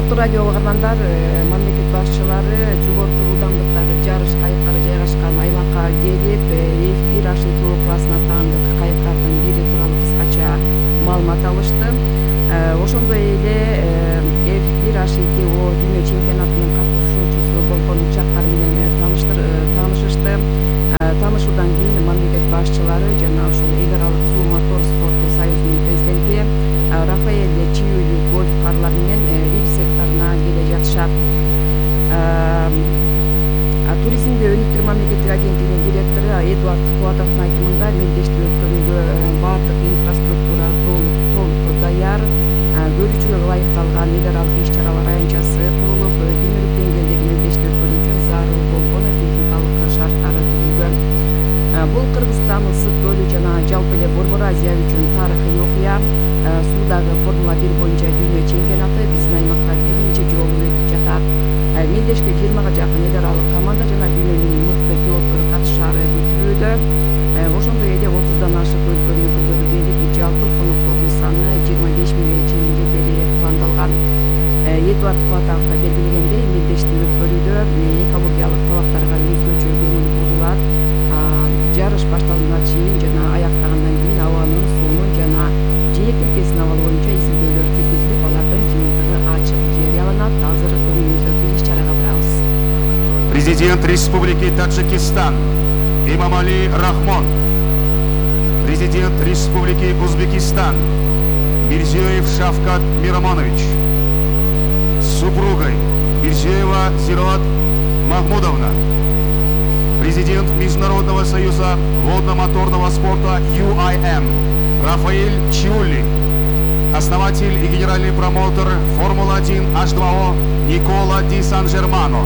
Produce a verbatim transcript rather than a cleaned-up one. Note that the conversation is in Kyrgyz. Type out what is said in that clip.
Урматтуу радио угармандар, мамлекет башчылары жогорку ылдамдыктагы жарыш кайыктары жайгашкан аймакка келип, эф бир H two классына таандык кайыктардын бири тууралуу кыскача маалымат алышты. Ошондой эле эф бир H two дүйнө чемпионатынын катышуучусу болгон учактар менен таанышышты. Таанышуудан кийин мамлекет башчылары жана ушул эл аралык суу мотор спорту союзунун президенти Рафаэль Чиюль гольф карлар менен рип секторуна келе жатышат. Туризмди өнүктүрүү мамлекеттик агенттигинин директору Эдуард Кубатовдун айтымында мелдешти өткөрүүгө бардык инфраструктура толук даяр, көрүүчүгө ылайыкталган эл аралык иш-чаралар аянтчасы курулуп, дүйнөлүк деңгээлдеги мелдешти өткөрүү үчүн зарыл болгон техникалык шарттары түзүлгөн. Бул Кыргызстан ысык көлү жана жалпы эле Борбор Азия үчүн тарыхый окуя. Суудагы Формула бир боюнча дүйнө чемпионаты биздин аймакта биринчи жолу өтүп жатат. Мелдешке жыйырмага жакын эл аралык команда жана дүйнөнүн мыкты пилоттору катышаары күтүлүүдө. Ошондой эле отуздан ашык өлкөнүн өкүлдөрү келип, жалпы коноктордун саны жыйырма беш миңге чейин жетери пландалган. Эдуард Кубатов белгилегендей, мелдешти өткөрүүдө экологиялык талаптарга өзгөчө көңүл бурулат. Жарыш башталганга чейин жана аяктагандан кийин абанын, суунун жана жээк тилкесинин абалы боюнча изилдөөлөр жүргүзүлүп, алардын жыйынтыгы ачык жарыяланат. Азыр көңүлүңүздөгү иш-чарага барабыз. Президент Республики Таджикистан Имамали Рахмон, Президент Республики Узбекистан Мирзиёев Шавкат Мирамонович, с супругой Мирзиёева Зираат Махмудовна, Президент Международного союза водно-моторного спорта ю ай эм Рафаэль Чиюль, основатель и генеральный промоутер Формула один H two O Никола Ди Сан-Жермано,